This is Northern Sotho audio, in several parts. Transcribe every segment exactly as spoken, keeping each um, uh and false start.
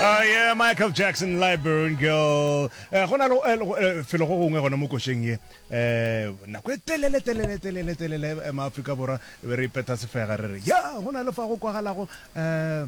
Uh, yeah, Michael Jackson, Liberian Girl. Eh, go na le eh, le- eh, felo go gongwe gona mo košeng ye eh nako e telele telele telele telele eh, maAfrika Borwa e be re ipetha sefega re re ya go na le fa go kwagalago eh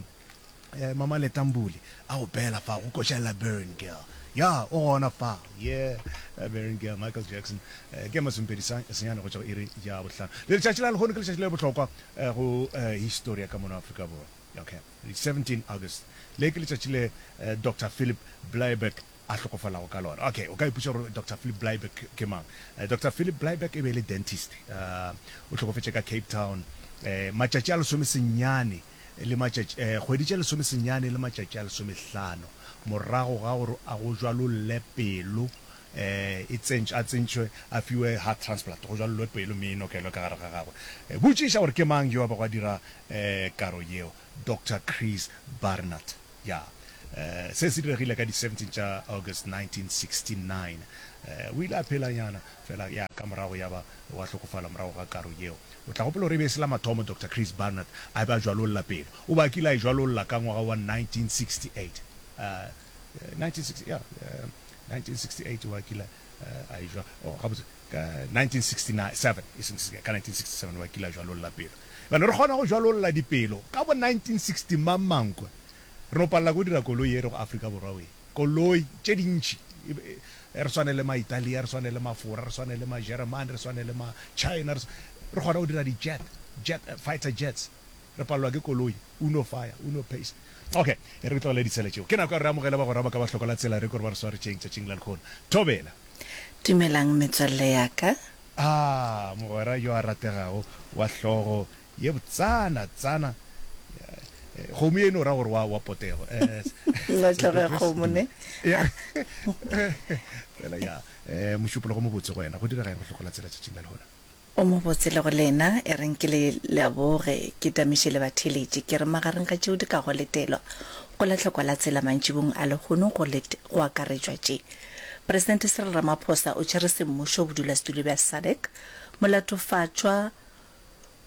eh, Mama Letambule a opela fa go koša Liberian Girl ya o gona fa yeah Liberian Girl Michael Jackson eh, ke masomepedi senyane go tšwa go iri ya bohlano le letšatši la lehono ke letšatši le bohlokwa eh, go eh, history ya ka mono Afrika Borwa okay seventeen August le ke letšatši le eh, Doctor Philip Bleiberg a hlokofalago ka lona. Okay, o ka ipotša gore Doctor Philip Bleiberg ke mang. Eh, Doctor Philip Bleiberg e be e le dentist. Uh, o hlokofetše ka Cape Town eh, matšatši a lesome senyane le matšatši eh, kgwedi tše lesome senyane le matšatši a lesomehlano morago ga gore a go jwalolle pelo eh, e tsentš, a tsentšwe a fiwe heart transplant, go jwalollwe pelo mme e nokelwe ka gare ga gagwe. Eh, botšiša gore ke mang yo a bego a dira eh, karo yeo. Doctor Chris Barnard. Ya. Eh, se se diregile ka di seventeen tša August nineteen sixty-nine. Eh, o ile a phelanyana fela ya ka morago ya ba wa hlokofala morago ga karo yeo. O tla gopola gore e be e se la mathomo Doctor Chris Barnard a be a jwalolla pelo. O be a kile a e jwalolla ka ngwaga wa nineteen sixty-eight. Eh, nineteen sixty, ya, eh, nineteen sixty-eight o a kile, eh, a e jwa, oh, gabotse, ka nineteen sixty-seven, e seng sixty, ka nineteen sixty-seven o a kile a jwalolla pelo. Bjale re kgona go jwalolla dipelo ka bo nineteen sixty mang mankwe. Re no palela ko dira koloi e re go Afrika Borwa we. Koloi tše dintši. Re swane le ma-Italia, re swane le ma-Fora, re swane le ma-Jeremane, re swane le ma-China, re re kgona go dira di-jet, jet, fighter jets. Re palelwa ke koloi, uno fire, uno pace. Okay, e re tlogele ditshele tšeo. Ke nako ya re amogele bagwera ba ka ba hloka la tsela re kore ba re swaretšeng tšatšing la lehono. Thobela. Dumelang metswalle ya ka. Ah, mogwera yo a rategago wa hlogo ye botsana tsana. Kgomo ye no ra gore wa wa potego. Eh, Nna hlogo ya kgomo ne. Ya. Fela ya, eh mošupologo mobotse go wena. Go direga eng go hloka la tsela tšatšing la lehono? O mobotse le go lena, e reng ke le leboge, ke tamiše le batheeletši, ke re magareng ga tšeo di kago letelwa go la hlokwa la tsela mantšibong a lehono go let-, go akaretšwa tše. Presidente Cyril Ramaphosa o tšere semmušo bodulasetulo bja SADC, molatofatšwa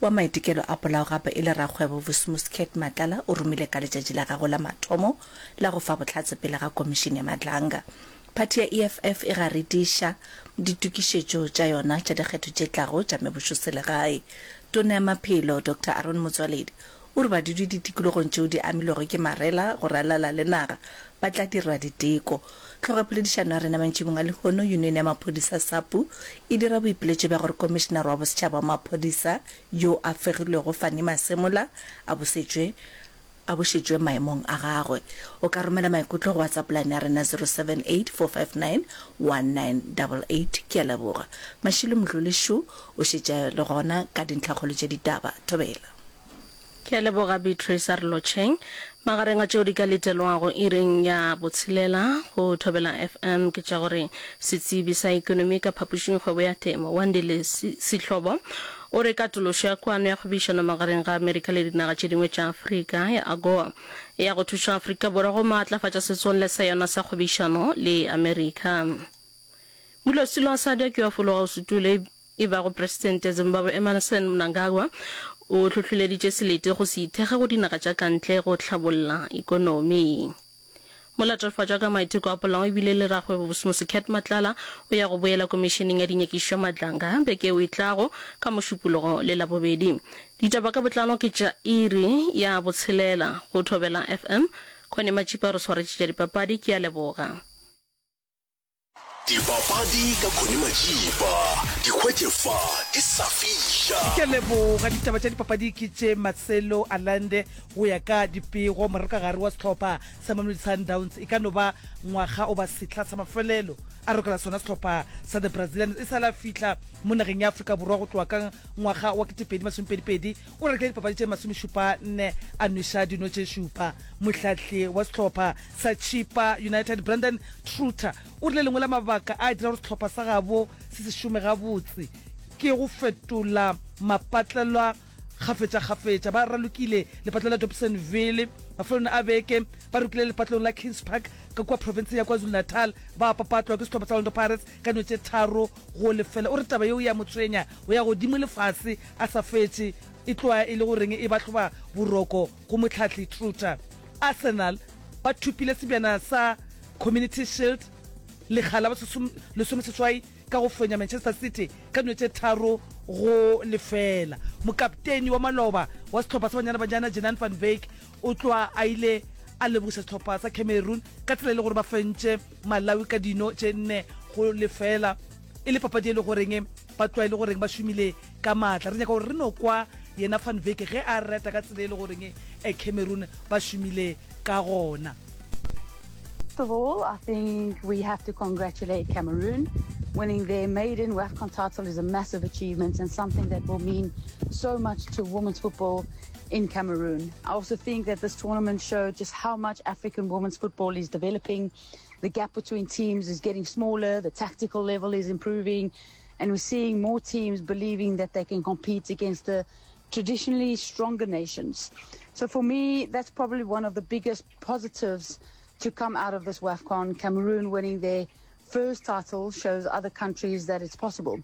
wa maitekelo a polao gape e le rakgwebo Vusimuzi Cat Matlala o romile ka letšatši la gagwe la mathomo la go fa bohlatse pele ga komišene ya Madlanga. Phathi ya E F F e garediša ditokišetšo tša yona tša dikgetho tše tlago tša mebušoselegae. Tona ya Maphelo Doctor Aaron Motsoaledi o re badudi ditikologong tšeo di amilwego ke marela go ralala le naga ba tla dira diteko. Tlhogo ya poledišano ya rena mantšibong a lehono, Union ya Maphodisa SAPU e dira boipiletšo bja gore Komišenare wa Bosetšhaba wa Maphodisa yo a fegilwego Fannie Masemola a bosetšwe a bošetšwe maemong a gagwe. O ka romela maikutlo go WhatsApp line ya rena zero seven eight four five nine one nine double eight. Ke a leboga. Mashilo Mdluli-Shu o šetše le gona ka dintlhakgolo tše ditaba. Thobela. Ke a leboga Beatrice a re lotšheng. Magareng a tšeo di ka letelwago iring ya botshelela go Thobela F M ke tša gore setsebi sa ekonomi ka phapošing kgwebo ya temo Wandile Sihlobo o re katološo ya kwano ya kgwebišano magareng ga Amerika le dinaga tše dingwe tša Afrika ya AGOA e ya go thuša Afrika Borwa go maatlafatša setswalle sa yona sa kgwebišano le Amerika. Modulasetulo wa SADC yo a fologago setulo e bago Presidente ya Zimbabwe Emmerson Mnangagwa o hlohleleditše selete go se ithekge go dinaga tša ka ntle go hlabolla ekonomi. Molatofatšwa ka maiteko a polao ebile le rakgwebo Vusimuzi Cat Matlala o ya go boela komišeneng ya dinyakišišo ya Madlanga beke yeo e tlago ka Mošupologo le Labobedi. Ditaba ka botlalo ke tša iri ya botshelela go Thobela F M. Connie Matšipa o re swaretše tša dipapadi. Ke a leboga. Dipapadi ka Connie Matšipa, di hwetše fa di sa fiša. Ke a leboga. Ditaba tša dipapadi ke tše Marcelo Allende go ya ka dipego moralokagare wa sehlopha sa Mamelodi Sundowns e ka no ba ngwaga oba sehla sa mafelelo a rokela sona sehlopha sa The Brazilians e sa la fihla mo nageng ya Afrika Borwa go tloga ka ngwaga wa ketepedi masomepedi pedi o ralokile dipapadi tše masomešupa nne a nweša dino tše šupa. Mohlahli wa sehlopha sa Chippa United Brandon Truter o rile lengwe la mabaka a dira gore sehlopha sa gabo se se šome gabotse ke go fetola mapatlelwa kgafetšakgafetša. Ba ralokile lepatlelo la Dobsonville mafelong a beke, ba rokile lepatlelong la Kings Park ka kua profenseng ya KwaZulu-Natal, ba papatlwa ke sehlopha sa Orlando Pirates ka dino tše tharo go lefela. O re taba yeo ya mo tshwenya go ya godimo le fase a sa fetše, e tloga e le goreng e ba hloba boroko go mohlahli Truter. Arsenal ba thopile sebjana sa Community Shield lekga la lesomeseswai ka go fenya Manchester City ka dino tše tharo go lefeela. Mokapteni wa maloba wa sehlopha sa Banyana Banyana Jenan van Wyk o tloga a ile a lebogiša sehlopha sa Cameroon ka tsela e le gore ba fentše Malawi ka dino tše nne go lefeela e le papadi e le goreng ba tloga e le goreng ba šomile ka maatla. Re nyaka gore re no kwa yena Van Wyk ge a reta ka tsela e le goreng Cameroon ba šomile ka gona. First of all, I think we have to congratulate Cameroon. Winning their maiden WAFCON title is a massive achievement and something that will mean so much to women's football in Cameroon. I also think that this tournament showed just how much African women's football is developing. The gap between teams is getting smaller, the tactical level is improving, and we're seeing more teams believing that they can compete against the traditionally stronger nations. So for me, that's probably one of the biggest positives to come out of this WAFCON. Cameroon winning their first title shows other countries that it's possible.